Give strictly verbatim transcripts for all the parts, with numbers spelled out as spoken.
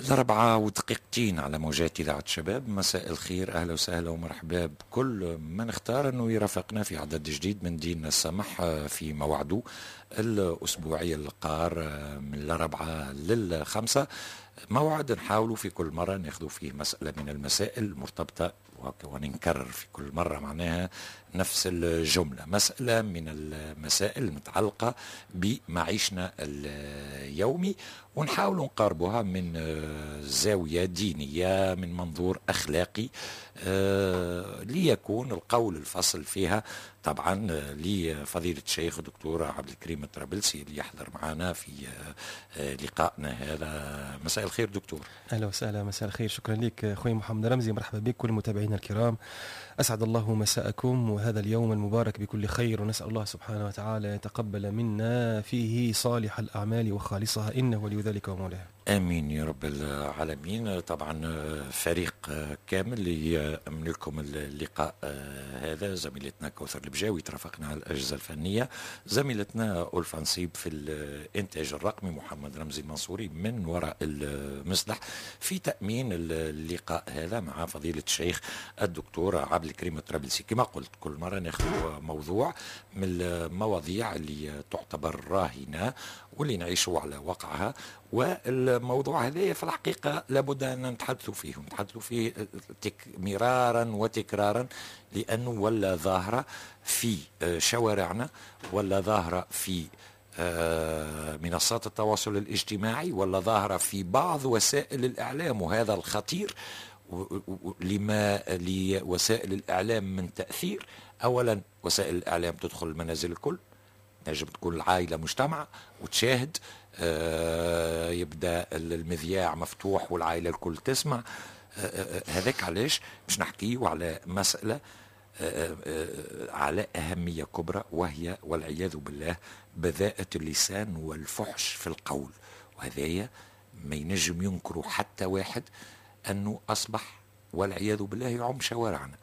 الأربعة ودقيقتين على موجات إذاعة شباب. مساء الخير، أهلا وسهلا ومرحبا بكل من اختار أنه يرافقنا في عدد جديد من ديننا السمح في موعده الأسبوعي القار من الأربعة للخمسة. موعد نحاولوا في كل مرة ناخذ فيه مسألة من المسائل المرتبطة، ونكرر في كل مرة معناها نفس الجملة، مسألة من المسائل المتعلقة بمعيشنا اليومي، ونحاول نقاربها من زاوية دينية، من منظور أخلاقي، ليكون القول الفصل فيها طبعا لفضيلة الشيخ الدكتور عبد الكريم الطرابلسي اللي يحضر معنا في لقائنا هذا. مساء الخير دكتور. أهلا وسهلا، مساء الخير، شكرا لك أخوي محمد رمزي، مرحبا بك كل متابعينا الكرام، أسعد الله مساءكم وهذا اليوم المبارك بكل خير، ونسأل الله سبحانه وتعالى يتقبل منا فيه صالح الأعمال وخالصها، إنه ولي ذلك ومولاه. آمين يا رب العالمين. طبعا فريق كامل يأمن لكم اللقاء هذا، زميلتنا كوثر البجاوي ترافقنا على الأجهزة الفنية، زميلتنا ألفا نصيب في الإنتاج الرقمي، محمد رمزي المنصوري من وراء المصلح في تأمين اللقاء هذا مع فضيلة الشيخ الدكتور عبد الكريم الطرابلسي. كما قلت كل مرة ناخذ موضوع من المواضيع اللي تعتبر راهنة واللي نعيشوا على وقعها، والموضوع هذا في الحقيقة لابد أن نتحدثوا فيه ونتحدثوا فيه مرارا وتكرارا، لأنه ولا ظاهرة في شوارعنا، ولا ظاهرة في منصات التواصل الاجتماعي، ولا ظاهرة في بعض وسائل الإعلام، وهذا الخطير لما لوسائل الإعلام من تأثير. أولا وسائل الإعلام تدخل المنازل الكل، نجم تكون العائلة مجتمعة وتشاهد، آه يبدأ المذياع مفتوح والعائلة الكل تسمع. آه هذاك علاش باش نحكيه على مسألة آه آه على أهمية كبرى، وهي والعياذ بالله بذاءة اللسان والفحش في القول. وهذايا ما ينجم ينكروا حتى واحد أنه أصبح والعياذ بالله يعم شوارعنا.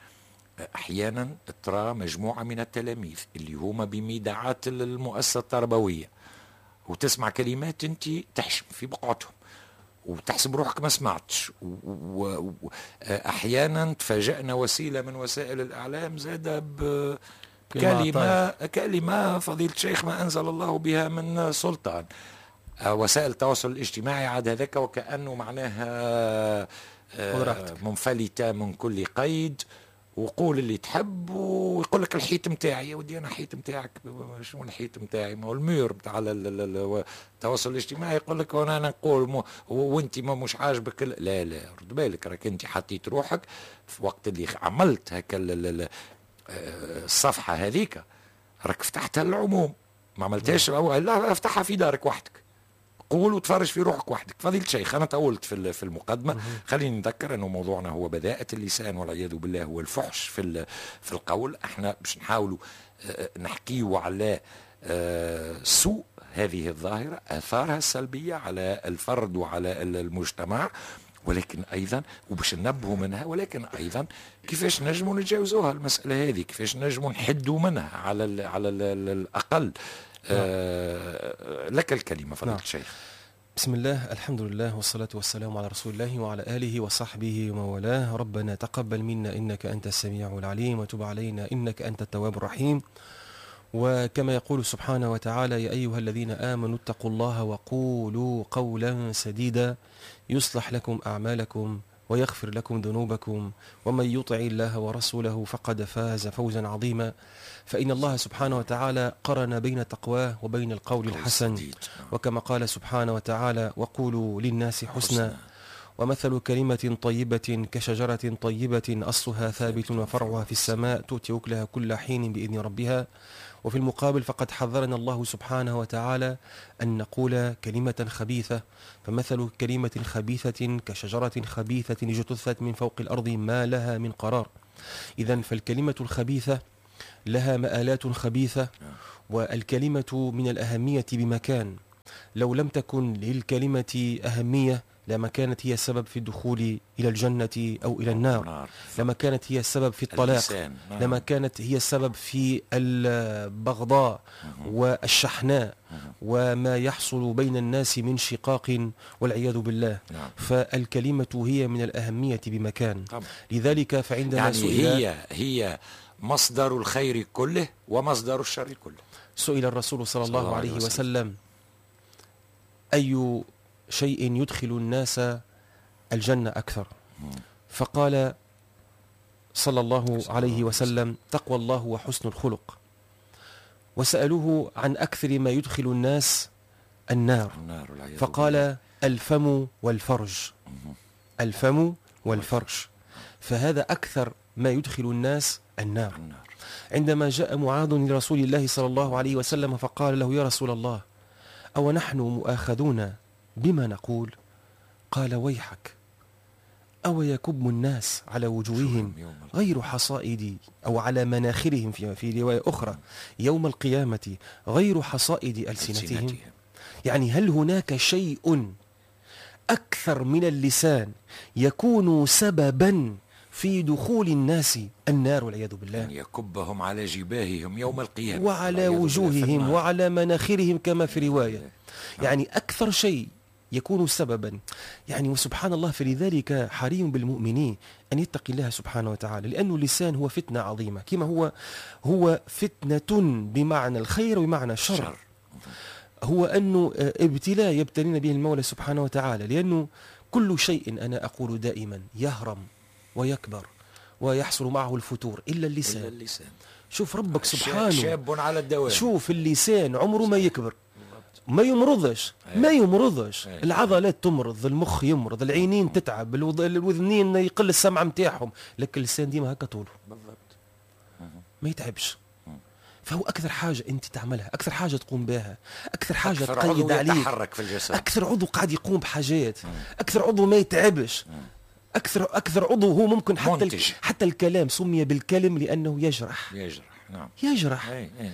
أحيانا ترى مجموعة من التلاميذ اللي هما بميدعات المؤسسة التربوية، وتسمع كلمات انت تحشم في بقعتهم وتحسب روحك ما سمعتش. وأحيانا تفاجئنا وسيلة من وسائل الإعلام زادة بكلمة كلمة فضيلة الشيخ ما أنزل الله بها من سلطان. وسائل التواصل الاجتماعي عاد هذاك وكأنه معناها منفلتة من كل قيد، وقول اللي تحب، ويقول لك الحيط متاعي. يا ودي انا حيط متاعك، شنو الحيط متاعي؟ ما هو المير بتاع التواصل الاجتماعي يقول لك وانا نقول وانت ما مش عاجبك. لا لا، رد بالك، راك انت حطيت روحك في وقت اللي عملت هكا الصفحة هذيك، راك فتحتها للعموم، ما عملتهاش لا افتحها في دارك وحدك، قول وتفرج في روحك وحدك. فضيلة الشيخ أنا طولت في في المقدمة، خليني نذكر أنه موضوعنا هو بذاءة اللسان والعياذ بالله هو الفحش في في القول. احنا باش نحاولوا نحكيو على سوء هذه الظاهرة، آثارها السلبية على الفرد وعلى المجتمع، ولكن أيضا وباش ننبهوا منها، ولكن أيضا كيفاش نجموا نتجاوزوها المسألة هذه، كيفاش نجموا نحدوا منها على على الأقل. آه لك الكلمة فضيلة نعم. الشيخ. بسم الله، الحمد لله، والصلاة والسلام على رسول الله وعلى آله وصحبه ومن والاه. ربنا تقبل منا إنك أنت السميع العليم، وتب علينا إنك أنت التواب الرحيم. وكما يقول سبحانه وتعالى: يا أيها الذين آمنوا اتقوا الله وقولوا قولا سديدا يصلح لكم أعمالكم ويغفر لكم ذنوبكم ومن يطع الله ورسوله فقد فاز فوزا عظيما. فإن الله سبحانه وتعالى قرن بين تقواه وبين القول الحسن، وكما قال سبحانه وتعالى: وقولوا للناس حسنا. ومثل كلمة طيبة كشجرة طيبة أصلها ثابت وفرعها في السماء تؤتي أكلها كل حين بإذن ربها. وفي المقابل فقد حذرنا الله سبحانه وتعالى أن نقول كلمة خبيثة، فمثل كلمة خبيثة كشجرة خبيثة اجتثت من فوق الأرض ما لها من قرار. إذن فالكلمة الخبيثة لها مآلات خبيثة، والكلمة من الأهمية بمكان. لو لم تكن للكلمة أهمية لما كانت هي السبب في الدخول إلى الجنة أو إلى النار، لما كانت هي السبب في الطلاق، لما كانت هي السبب في البغضاء والشحناء وما يحصل بين الناس من شقاق والعياذ بالله. نعم. فالكلمة هي من الأهمية بمكان. طبعا. لذلك فعندما يعني سئل هي هي مصدر الخير كله ومصدر الشر كله. سئل الرسول صلى الله, الله عليه وسلم, وسلم أي شيء يدخل الناس الجنة أكثر؟ فقال صلى الله عليه وسلم تقوى الله وحسن الخلق. وسألوه عن أكثر ما يدخل الناس النار، فقال الفم والفرج. الفم والفرج، فهذا أكثر ما يدخل الناس النار. عندما جاء معاذ لرسول الله صلى الله عليه وسلم فقال له يا رسول الله أو نحن مؤاخذون بما نقول؟ قال ويحك، أو يكب الناس على وجوههم غير حصائد، أو على مناخرهم في, في رواية أخرى يوم القيامة غير حصائد ألسنتهم. يعني هل هناك شيء أكثر من اللسان يكون سببا في دخول الناس النار والعياذ بالله؟ يكبهم على جباههم يوم القيامة وعلى وجوههم وعلى مناخرهم كما في رواية. يعني أكثر شيء يكون سببا، يعني وسبحان الله. فلذلك حري بالمؤمنين أن يتقي الله سبحانه وتعالى، لأن اللسان هو فتنة عظيمة، كما هو هو فتنة بمعنى الخير وبمعنى الشر. هو أنه ابتلاء يبتلينا به المولى سبحانه وتعالى، لأنه كل شيء أنا أقول دائما يهرم ويكبر ويحصل معه الفتور إلا اللسان. إلا اللسان. شوف ربك سبحانه شاب على الدوام. شوف اللسان عمره ما يكبر، ما يمرضش، ما يمرضش. العضلات تمرض، المخ يمرض، العينين تتعب، الوذنين يقل السمع نتاعهم، لكن اللسان ديما هكا طوله بالضبط، ما يتعبش. فهو أكثر حاجة أنت تعملها، أكثر حاجة تقوم بها، أكثر حاجة أكثر تقيد عليك، يتحرك في الجسد، أكثر عضو قاعد يقوم بحاجات، أكثر عضو ما يتعبش، أكثر أكثر عضو هو ممكن حتى ال... حتى الكلام سمي بالكلم لأنه يجرح. يجرح، نعم، يجرح. أي أي أي.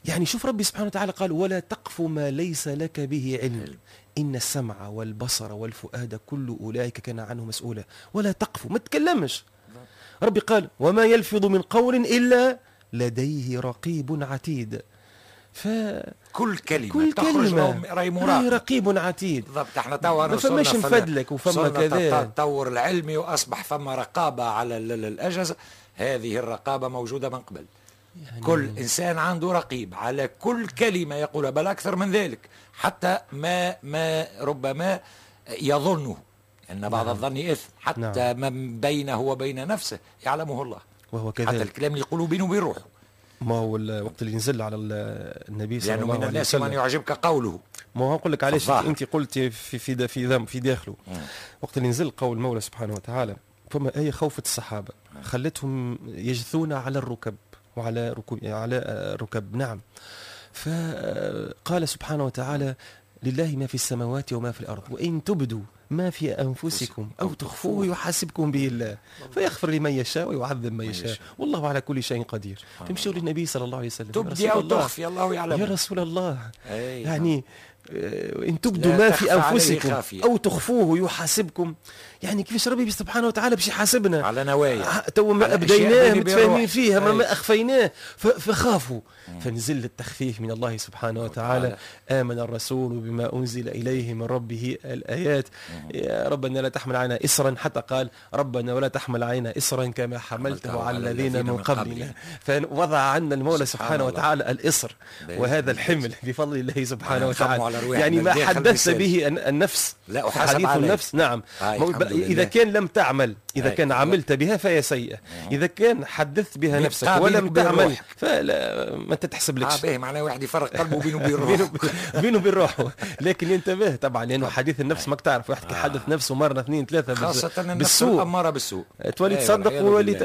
يعني شوف ربي سبحانه وتعالى قال ولا تقف ما ليس لك به علم إن السمع والبصر والفؤاد كل أولئك كان عنه مسؤولا. ولا تقف، ما تكلمش. ربي قال وما يلفظ من قول إلا لديه رقيب عتيد. ف كل كلمة كل تخرج كلمة راهي مراقب، رقيب عتيد. بالضبط. احنا توا ما فماش نفدلك وفما كذا، التطور العلمي واصبح فما رقابه على الاجهزة. هذه الرقابة موجودة من قبل. يعني كل انسان عنده رقيب على كل كلمة يقولها، بل اكثر من ذلك، حتى ما ما ربما يظنه ان بعض، نعم، الظن اثم، حتى نعم، ما بينه وبين نفسه يعلمه الله، وهو كذلك. حتى الكلام اللي يقوله بينه وبين روحه. ما هو الوقت اللي نزل على النبي صلى الله عليه وسلم، من الناس من يعجبك قوله. ما هو نقول لك علاش انت قلت في في في في داخله. مم. وقت اللي نزل قول المولى سبحانه وتعالى فما آية خوفت الصحابة، خلتهم يجثون على الركب وعلى ركب على الركب، نعم. فقال سبحانه وتعالى لله ما في السماوات وما في الأرض وإن تبدوا ما في أنفسكم أو تخفوه يحاسبكم به الله فيغفر لمن يشاء ويعذب من يشاء والله على كل شيء قدير. تمشوا للنبي صلى الله عليه وسلم، تبدي أو تخفي الله يعلم. يا رسول الله، يعني إن تبدوا ما في أنفسكم أو تخفوه يحاسبكم. يعني كيفاش ربي سبحانه وتعالى باش يحاسبنا على نوايا تو ما أبديناه متفاهمين فيها، ما, ما أخفيناه، فخافوا. فنزل التخفيف من الله سبحانه وتعالى. آمن الرسول بما أنزل إليه من ربه الآيات. يا ربنا لا تحمل علينا إصرا، حتى قال ربنا ولا تحمل علينا إصرا كما حملته على الذين من قبلنا. فوضع عنا المولى سبحانه وتعالى الإصر وهذا الحمل بفضل الله سبحانه وتعالى. يعني ما حدثت به النفس، لا أحاسب حديث عليه. النفس، نعم. إذا كان لم تعمل، إذا كان عملت بها فهي سيئة، إذا كان حدثت بها نفسك ولم تعمل فلا ما تتحسب لكش. آه باهي، معناه واحد يفرق قلبه بينه وبين روحه بينه وبين روحه. لكن ينتبه طبعا، لأنه حديث النفس ماك تعرف، واحد كيحدث نفسه مرة اثنين ثلاثة خاصة النفس الأمارة بالسوء تولي تصدق وولي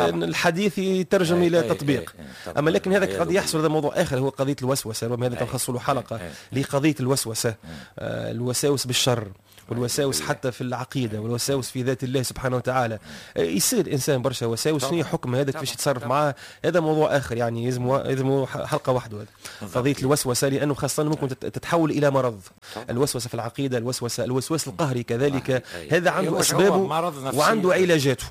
الحديث يترجم إلى تطبيق. أما لكن هذا قد يحصل، هذا موضوع آخر، هو قضية الوسوسة، ربما هذا تنخص له حلقة لقضية الوسوسة، الوساوس بالشر والوساوس حتى في العقيدة والوساوس في ذات الله سبحانه وتعالى. يصير الانسان برشا وساوس، شنو حكم هذا، كيفاش يتصرف معاه، هذا موضوع اخر يعني يلزم يلزم حلقة وحده هذا قضية الوسوسة، لانه خاصة ممكن تتحول الى مرض. الوسوسة في العقيدة، الوسوسة الوسواس القهري كذلك، هذا عنده اسبابه وعنده علاجاته.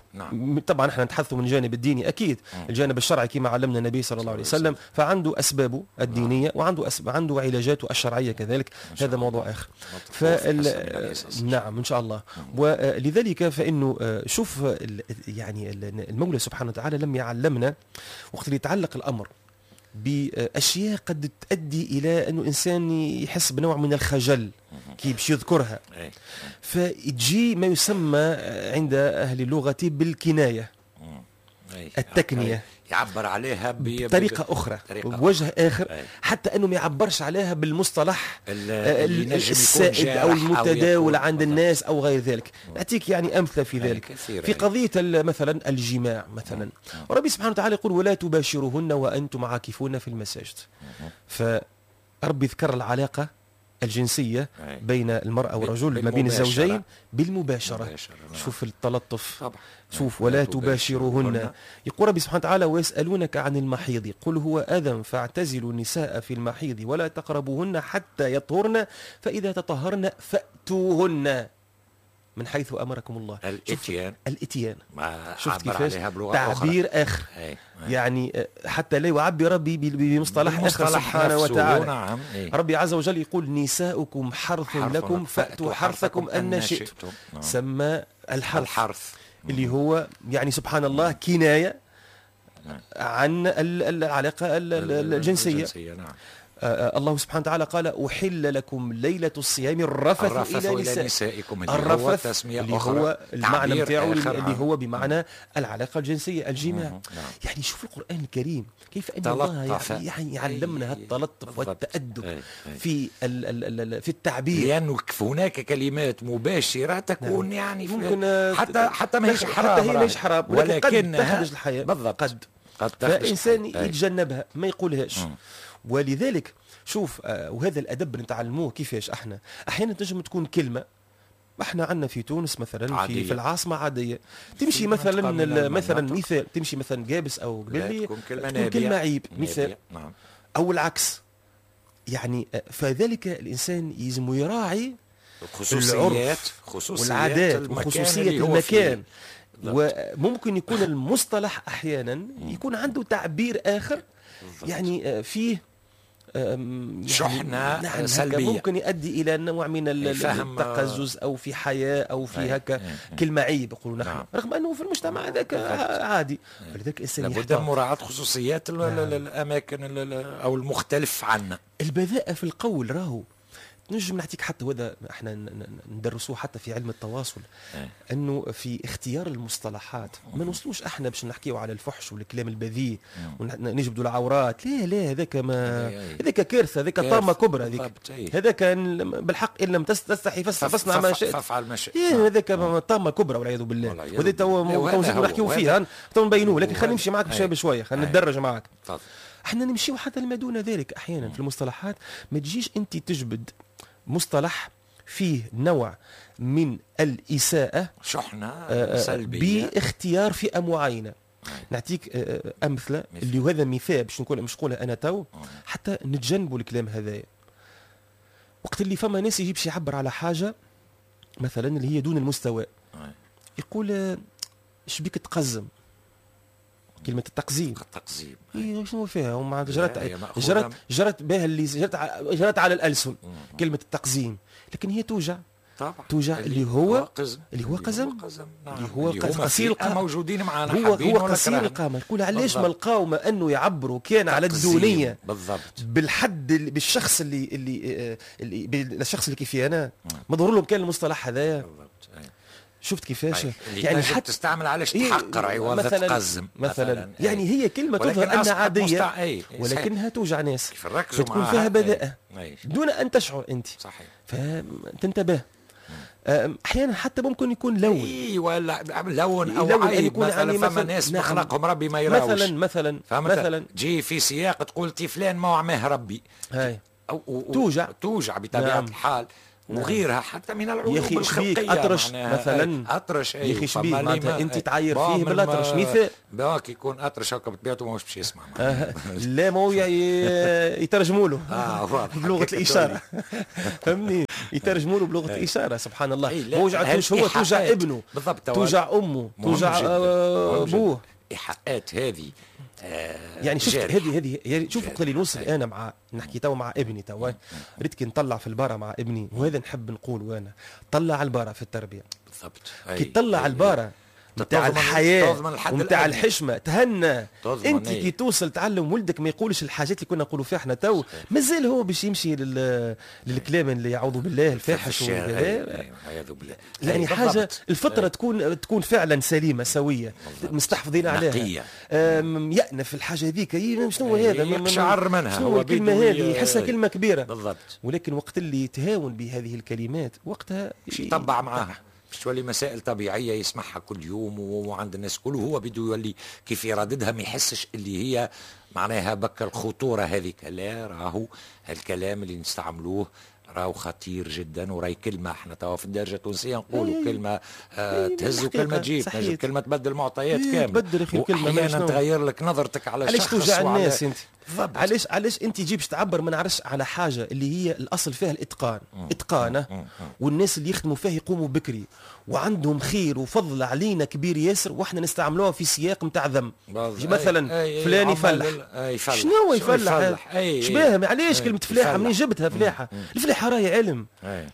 طبعا احنا نتحدث من الجانب الديني اكيد، الجانب الشرعي كما علمنا النبي صلى الله عليه وسلم، فعنده اسبابه الدينية وعنده أسب... عنده علاجاته الشرعية كذلك، هذا موضوع اخر. فال... نعم ان شاء الله. ولذلك فانه شوف يعني المولى سبحانه وتعالى لم يعلمنا وقت اللي يتعلق الامر باشياء قد تؤدي الى انه الانسان يحس بنوع من الخجل كي باش يذكرها، فتجي ما يسمى عند اهل اللغة بالكناية، التكنيه، يعبر عليها بطريقة أخرى، بوجه آخر، أي. حتى أنه ما يعبرش عليها بالمصطلح السائد أو المتداول عند الناس أو غير ذلك. نعطيك يعني أمثلة في ذلك، في قضية مثلا الجماع مثلا، ربي سبحانه وتعالى يقول ولا تباشرهن وأنتم عاكفون في المساجد. فربي ذكر العلاقة الجنسية بين المرأة والرجل ما بين الزوجين بالمباشرة. شوف التلطف، طبعا. شوف ولا تباشرهن. يقول ربي سبحانه وتعالى ويسألونك عن المحيض قل هو أذى فاعتزلوا النساء في المحيض ولا تقربوهن حتى يطهرن فإذا تطهرن فأتوهن من حيث أمركم الله. الاتيان، الاتيان، شفت كيفاش تعبير آخر. أي. أي. يعني حتى لا يعبر ربي بمصطلح آخر سبحانه وتعالى. نعم. أي. ربي عز وجل يقول نساؤكم حرث, حرث لكم فأتوا حرثكم أن شئتم. نعم. سمى الحرث, الحرث اللي هو يعني سبحان الله كناية نعم. عن العلاقة الجنسية, الجنسية. نعم. الله سبحانه وتعالى قال أحل لكم ليلة الصيام الرفث, الرفث إلى, إلى نسائكم، اللي الرفث هو تسمية اللي أخرى، هو المعنى نتاعو اللي هو بمعنى العلاقة الجنسية، الجماع. نعم. يعني شوف القرآن الكريم كيف أن الله يعني يعلمنا التلطف والتأدب أي. أي. في ال ال في التعبير، لأنه هناك كلمات مباشرة تكون نعم. يعني ممكن حتى حتى ما هيش حرام، حتى هي ماهيش حرام، ولكن قد تخرج الحياة بالضبط، قد قد فالإنسان يتجنبها ما يقولهاش. ولذلك شوف آه وهذا الادب نتعلموه كيفاش احنا احيانا تنجم تكون كلمة احنا عندنا في تونس مثلا عادية. في, في العاصمة عادية تمشي مثلا مثلا مثال تمشي مثلا جابس او قبلي تكون كلمة, تكون كلمة عيب مثال. نعم. او العكس يعني، فذلك الانسان يلزم يراعي خصوصيات خصوصيات والعادات وخصوصيه المكان، وممكن يكون المصطلح احيانا يكون عنده تعبير اخر يعني فيه يعني شحنة نعم سلبية، ممكن يؤدي إلى نوع من التقزز أو في حياة أو في هكا كلمة عيب يقولوا نحن، نعم. رغم أنه في المجتمع هذاك عادي. فلذلك الإنسان لابد من مراعاة خصوصيات نعم. الأماكن أو المختلف عنا. البذاءة في القول راهو نجم نعطيك حتى وهذا احنا ندرسوه حتى في علم التواصل، انه في اختيار المصطلحات ما نوصلوش احنا باش نحكيو على الفحش والكلام البذيء ونجبدوا العورات، لا لا هذاك ما هذاك كارثة، هذاك طامة كبرى، هذيك هذاك بالحق ان لم تستحي فاصنع ما شئت فافعل ما شئت، هذاك طامة كبرى والعياذ بالله، وهذا تو نزيدوا نحكيو فيه تو نبينوه، لكن خلينا نمشي معاك بشوية بشوية، خلينا نتدرج معاك. احنا نمشيو حتى لما دون ذلك احيانا في المصطلحات، ما تجيش انت تجبد مصطلح فيه نوع من الإساءة شحنة سلبية باختيار فئة معينة. نعطيك أمثلة اللي هذا مثال باش نقول مش نقولها أنا تو حتى نتجنبوا الكلام هذايا. وقت اللي فما ناس يجي باش يعبر على حاجة مثلا اللي هي دون المستوى، يقول شبيك تقزم، كلمة التقزيم، التقزيم إيه شنو فيها؟ ومع جرت جرت جرت بها اللي جرت جرت على الألسن كلمة التقزيم، لكن هي توجع طبعا، توجع اللي هو قزم، اللي هو قزم، اللي هو قصير القامة، موجودين معنا هو هو قصير القامة. يقول علاش ما لقاو ما انه يعبروا كان على الدونية بالضبط بالحد بالشخص اللي اللي اللي بالشخص اللي كيفي انا ما ظهر لهم كان المصطلح هذايا. بالضبط. شفت كيفاش؟ يعني حتى تستعمل علاش تحقر عوض تقزم مثلا, مثلاً. يعني هي كلمة تظهر انها عادية أي. ولكنها توجع ناس، تكون فيها بذاءه دون ان تشعر انت. صحيح. فتنتبه. احيانا حتى ممكن يكون لون، اي ولا لون او لون عيب يكون مثلا، فما ناس نعم. مخلقهم ربي ما يراوش مثلا مثلا مثلا تجي في سياق تقول تي فلان ما عماه ربي، هاي أو أو توجع توجع بطبيعة نعم. الحال. وغيرها حتى من العيوب يا اخي الخلقية. اطرش مثلا، اطرش يا اخي شبيه معناتها انت تعاير فيه بالاطرش مثال، باك يكون اطرش هكا بطبيعته ماهوش باش يسمع. لا ما هو يترجموا له اه بلغه الاشارة، فهمني، يترجموا له بلغه الاشارة. سبحان الله، ما وجعتوش هو، توجع ابنه بالضبط، توجع امه، توجع ابوه. ايحاءات هذه يعني شفت هذه هذه يعني شوف وقت اللي نوصل انا مع نحكي تو مع ابني تو، ريت كي نطلع في البارة مع ابني، وهذا نحب نقول وانا طلع البارة في التربية بالضبط. كي تطلع البارة نتاع الحياة ونتاع الحشمة تهنى انت كي توصل تعلم ولدك ما يقولش الحاجات اللي كنا نقولوا فيها احنا تو، مازال هو باش يمشي لل... للكلام اللي يعوذ بالله الفاحش وكذا. يعني حاجة الفطرة تكون تكون فعلا سليمة سويه مستحفظين عليها، يأنف الحاجة هذيك، شنو هذا يقشعر منها، شنو الكلمة هذه، يحسها كلمة كبيرة بالضبط. ولكن وقت اللي يتهاون بهذه الكلمات وقتها يطبع معاها، باش تولي مسائل طبيعية يسمعها كل يوم وعند الناس كل، وهو بده يولي كيف يرددها ما يحسش اللي هي معناها بك الخطورة هذيك. لا، راهو الكلام اللي نستعملوه راهو خطير جدا، وراي كلمة احنا توا في الدرجة التونسية نقولوا كلمة آه تهز وكلمه تجيب، كلمة تبدل معطيات كاملة، تبدل اخي الكلمة، احيانا تغير لك نظرتك على علاش الشخص. توجع الناس انت؟ علاش علاش انت تجيبش تعبر ما نعرفش على حاجة اللي هي الاصل فيها الاتقان، اتقانه، والناس اللي يخدموا فيها يقوموا بكري وعندهم خير وفضل علينا كبير ياسر، واحنا نستعملوها في سياق نتاع ذم. مثلا أي فلان يفلح، شنو يفلح؟ شباه علاش كلمة فلاحة منين جبتها فلاحة؟ الفلاحة راهي علم،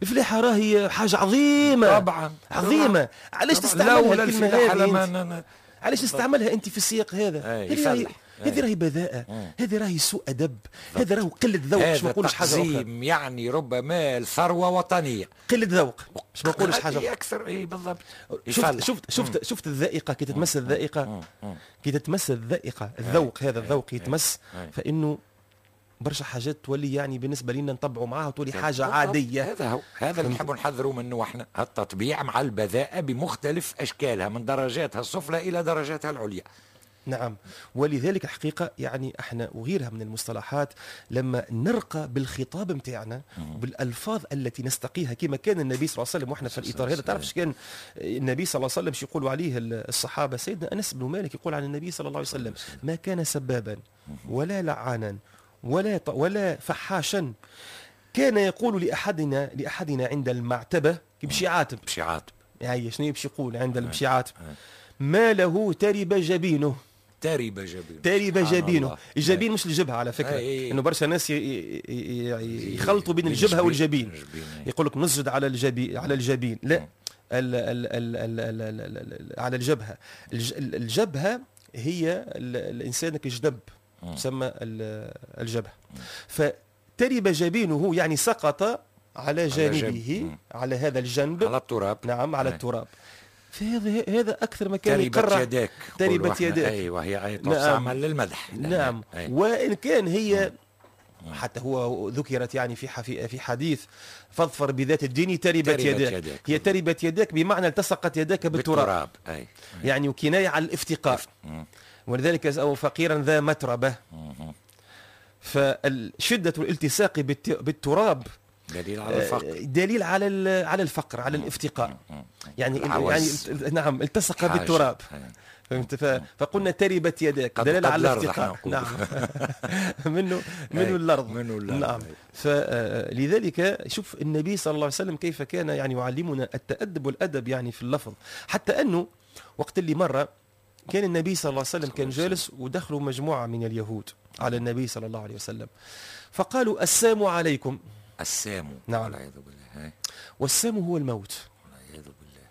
الفلاحة راهي حاجة عظيمة طبعا، عظيمة. علاش تستعملها الكلمة هذه؟ علاش تستعملها انت في السياق هذا؟ هذه هذه راهي بذاءة، هذه راهي سوء أدب، هذا راهو قلة ذوق، باش ما نقولش حاجة أخرى. يعني ربما الثروة وطنية، قلة ذوق، باش ما نقولش حاجة أخرى أكثر. إي بالضبط. شفت شفت شفت شفت الذائقة كي تتمس الذائقة، كي تتمس الذائقة، الذوق هذا الذوق يتمس، فإنه برشا حاجات تولي يعني بالنسبة لنا نطبعوا معاها وتولي حاجة عادية. هذا هو، هذا اللي نحبوا نحذروا منه احنا، التطبيع مع البذاءة بمختلف أشكالها من درجاتها السفلى إلى درجاتها العليا. نعم، ولذلك الحقيقة يعني احنا وغيرها من المصطلحات لما نرقى بالخطاب متاعنا بالألفاظ التي نستقيها كما كان النبي صلى الله عليه وسلم، واحنا في الإطار هذا تعرف كان النبي صلى الله عليه وسلم شو يقولوا عليه الصحابة؟ سيدنا أنس بن مالك يقول عن النبي صلى الله عليه وسلم: ما كان سبابا ولا لعانا ولا ولا فحاشا، كان يقول لأحدنا لأحدنا عند المعتبة باش يعاتب، باش يعاتب يعني شنو باش يقول عند باش يعاتب؟ ما له ترب جبينه. ترب جبينه، ترب جبينه. الجبين مش الجبهة على فكرة، انه برشا ناس يخلطوا بين الجبهة والجبين، يقول لك نسجد على الجبين، على الجبين، لا، ال ال ال ال ال على الجبهة. الجبهة هي الانسان كجدب تسمى الجبهة. فترب جبينه يعني سقط على جانبه، على هذا الجنب، على التراب. نعم، على التراب. فهذا هذا اكثر ما كان يقرأ تربت يداك، تربت يداك، ايوه، هي اي تستعمل للمدح. نعم، أي. وان كان هي حتى هو ذكرت يعني في في حديث: فاظفر بذات الدين تربت يداك. يداك. هي تربت يداك بمعنى التصقت يداك بالتراب، أي. أي. يعني وكنايه على الافتقار، ولذلك أو فقيرا ذا متربة. فشده الالتصاق بالتراب دليل على الفقر، دليل على على الفقر، على الافتقار. يعني يعني نعم، التصق بالتراب، فهمت؟ فقلنا تربت يداك دليل على الافتقار. نعم، منه منه الارض، منه الارض. نعم، فلذلك شوف النبي صلى الله عليه وسلم كيف كان يعني يعلمنا التأدب والأدب يعني في اللفظ، حتى انه وقت اللي مرة كان النبي صلى الله عليه وسلم كان جالس ودخلوا مجموعة من اليهود على النبي صلى الله عليه وسلم، فقالوا: السام عليكم. السام، نعم، والعياذ بالله. والسام هو الموت، والعياذ بالله.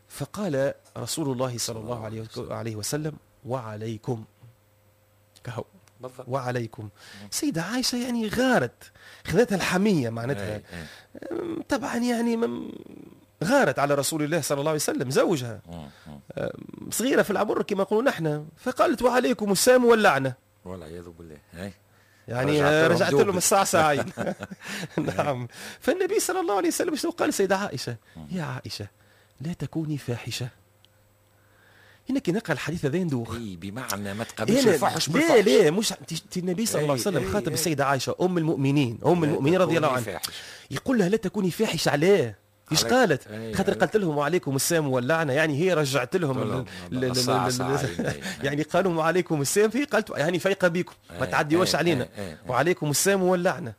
فقال رسول الله صلى الله عليه وسلم: وعليكم. كهو، وعليكم. سيدة عائشة يعني غارت، خذتها الحمية معناتها، طبعا يعني غارت على رسول الله صلى الله عليه وسلم زوجها، صغيرة في العمر كما نقولوا نحن، فقالت: وعليكم السام واللعنة، والعياذ بالله. يعني رجعت لهم الساعة ساعين. نعم. فالنبي صلى الله عليه وسلم شنو قال سيدة عائشة؟ يا عائشة لا تكوني فاحشة. هنا كي نقرا الحديث هذا ندوخ. اي بمعنى ما تقابلش الفحش بالفحش. لا لا مش النبي صلى الله عليه وسلم خاطب السيدة عائشة ام المؤمنين، ام المؤمنين رضي الله عنها، يقول لها لا تكوني فاحشه. علاه؟ ايش قالت؟ خاطر قالت لهم وعليكم السام واللعنة، يعني هي رجعت لهم يعني قالوا وعليكم السام، فهي قالت يعني فايقه بيكم ما تعديوش علينا، وعليكم السام واللعنة.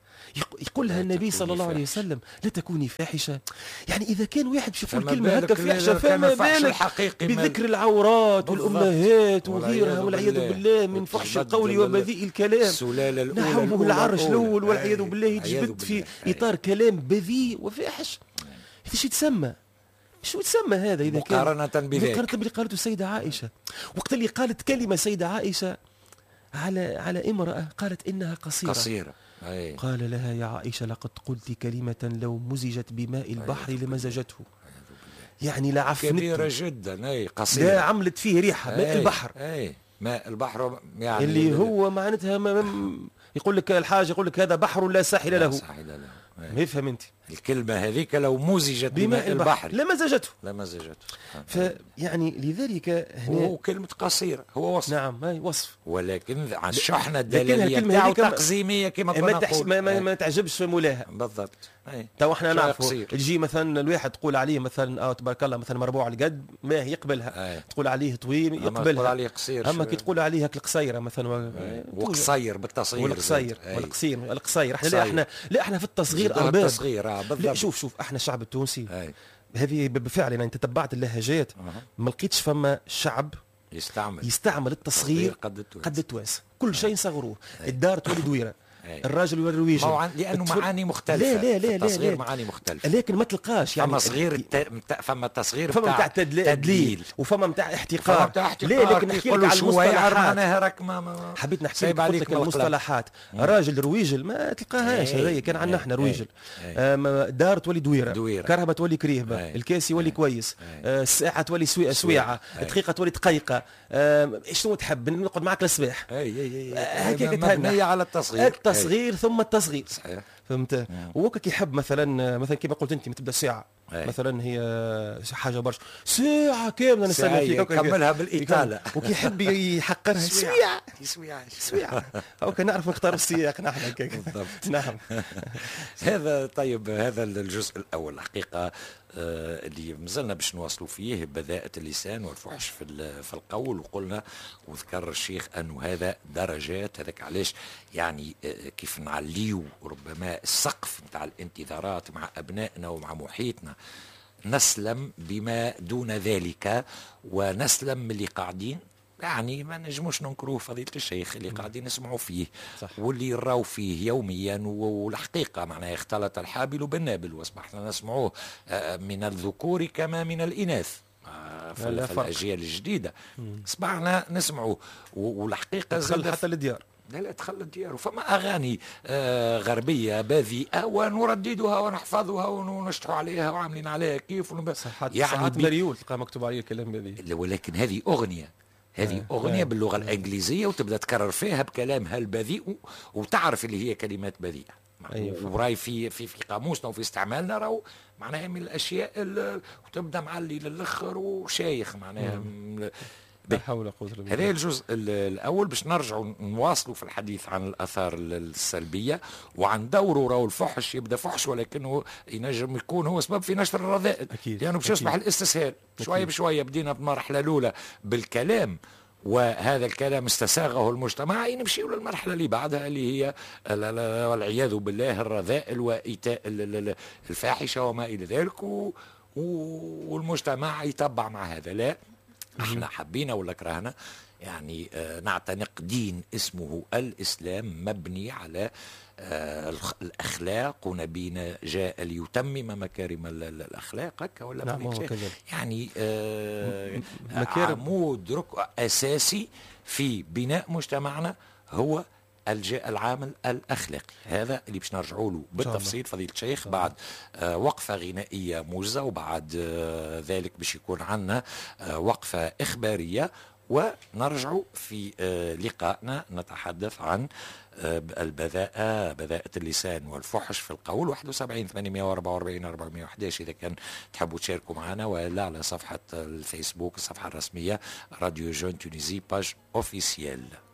يقول لها النبي صلى الله عليه وسلم لا تكوني فاحشة. يعني إذا كان واحد باش يقول كلمة هكا فاحشة فما بالك بذكر العورات والأمهات وغيرها والعياذ بالله من فحش القول وبذيء الكلام. نحوه العرش الأول والعياذ بالله يتجبد في إطار كلام بذيء وفاحش. هذا شو يتسمى؟ شو يتسمى هذا إذا كان مقارنة بذلك؟ مقارنة باللي قالته السيدة عائشة وقت اللي قالت كلمة سيدة عائشة على على امرأة قالت إنها قصيرة. قصيرة. أي. قال لها يا عائشة لقد قلت كلمة لو مزجت بماء البحر لمزجته. يعني لا عفنته كبيرة جدا. أي قصيرة لا عملت فيه ريحة. ماء البحر. أي ماء البحر يعني اللي هو معناتها ما يقول لك الحاج يقول لك هذا بحر لا ساحل له. ساحل له. ما يفهم انت الكلمة هذيك لو مزجت بماء البحر لمزجته لمزجته. فيعني لذلك هنا وكلمة قصيرة هو وصف. نعم هي وصف، ولكن على الشحنة الدلالية تاعو تقزيمية كما كنا نقول ما, ما, ما تعجبش مولاها. بالضبط. تو احنا نعرفوا تجي مثلا الواحد تقول عليه مثلا اه تبارك الله مثلا مربوع القد ما يقبلها. أي. تقول عليه طويل يقبلها، تقول عليه قصير. اما كي تقول عليه هاك القصيرة مثلا وقصير بالتصغير والقصير والقصير القصير احنا لا احنا لا احنا في التصغير ارباب. التصغير بالضبط. شوف شوف احنا الشعب التونسي هذه بالفعل يعني انت تبعت اللهجات ما لقيتش فما شعب يستعمل يستعمل التصغير قد التوانسة. كل شيء نصغروه. الدار تولي دويره، الراجل يولي رويجل، لانه معاني مختلفة. لا لا لا التصغير لا معاني مختلفة، لكن ما تلقاش يعني فما صغير الت... فما تصغير فما نتاع تدليل وفما نتاع احتقار. لا لكن نحكي لك على المصطلحات. ما حبيت نحكي لك قلت لك المصطلحات. راجل رويجل ما تلقاهاش، هذايا كان عندنا احنا رويجل. دار تولي دويره، كرهبه تولي كريهبه، الكاس يولي كويس، الساعة تولي سويعه، الدقيقة تولي دقيقة. شنو تحب نقعد معك للصباح؟ هكاك مبنية على التصغير. التصغير ثم التصغير. صحيح. فهمت؟ وهو كيحب مثلا مثلا كما قلت انت تبدا ساعة. أي. مثلا هي حاجة برشا ساعة كاملة نستنى فيك كملها بالاطاله وكيحب يحقرها سويعه سويعه سويعه. هاكا نعرف نختار السياق نحن هكاك. بالضبط. نعم. هذا طيب هذا الجزء الاول الحقيقة اللي مازلنا باش نواصلوا فيه بذاءة اللسان والفحش في في القول، وقلنا وذكر الشيخ انه هذا درجات. هذاك علاش يعني كيف نعليو ربما السقف نتاع الانتظارات مع ابنائنا ومع محيطنا نسلم بما دون ذلك ونسلم من اللي قاعدين يعني ما نجموش ننكروه فضيلة الشيخ اللي قاعدين نسمعوا فيه. صح. واللي نراو فيه يوميا، والحقيقة معناها اختلط الحابل بالنابل واصبحنا نسمعوه من الذكور كما من الإناث في, في الأجيال الجديدة اصبحنا نسمعوه. والحقيقة دخل حتى للديار. لا لا دخل الديار. وفما أغاني آه غربية بذيئة ونرددها ونحفظها ونشطح عليها وعاملين عليها كيف ونب... يعني ساعات مريول تلقى مكتوب عليه الكلام بذيء. ولكن هذه أغنية هذه أغنية باللغة الإنجليزية وتبدأ تكرر فيها بكلامها البذيء وتعرف اللي هي كلمات بذيئة. أيوة. وراي في في في قاموسنا وفي استعمالنا راهو معناها من الأشياء وتبدأ معلي للآخر وشايخ معناها. لا حول ولا قوة إلا بالله. هذا الجزء الأول باش نرجعوا نواصلوا في الحديث عن الآثار السلبية وعن دوره. راهو الفحش يبدأ فحش ولكنه ينجم يكون هو سبب في نشر الرذائل، لأنه باش يصبح الاستسهال شوية بشوية. بدينا بالمرحلة الأولى بالكلام وهذا الكلام استساغه المجتمع، نمشيو للمرحلة اللي بعدها اللي هي والعياذ بالله الرذائل وإيتاء الفاحشة وما إلى ذلك، والمجتمع يتبع مع هذا. لا احنا حبينا ولا كرهنا يعني نعتنق دين اسمه الإسلام مبني على الأخلاق، ونبينا جاء ليتمم مكارم الأخلاق هكا ولا نعم يعني عمود ركن أساسي في بناء مجتمعنا هو العامل الأخلاقي. هذا اللي باش نرجعوا له بالتفصيل فضيلة الشيخ بعد آه وقفة غنائية موجزة، وبعد آه ذلك باش يكون عندنا آه وقفة إخبارية، ونرجع في آه، لقائنا نتحدث عن آه، البذاءة، بذاءة اللسان والفحش في القول. واحد وسبعين ثمانمية وأربعة وأربعين أربعمية وأحداش إذا كان تحبوا تشاركوا معنا، ولا على صفحة الفيسبوك، الصفحة الرسمية Radio Jeune Tunisie، page officielle.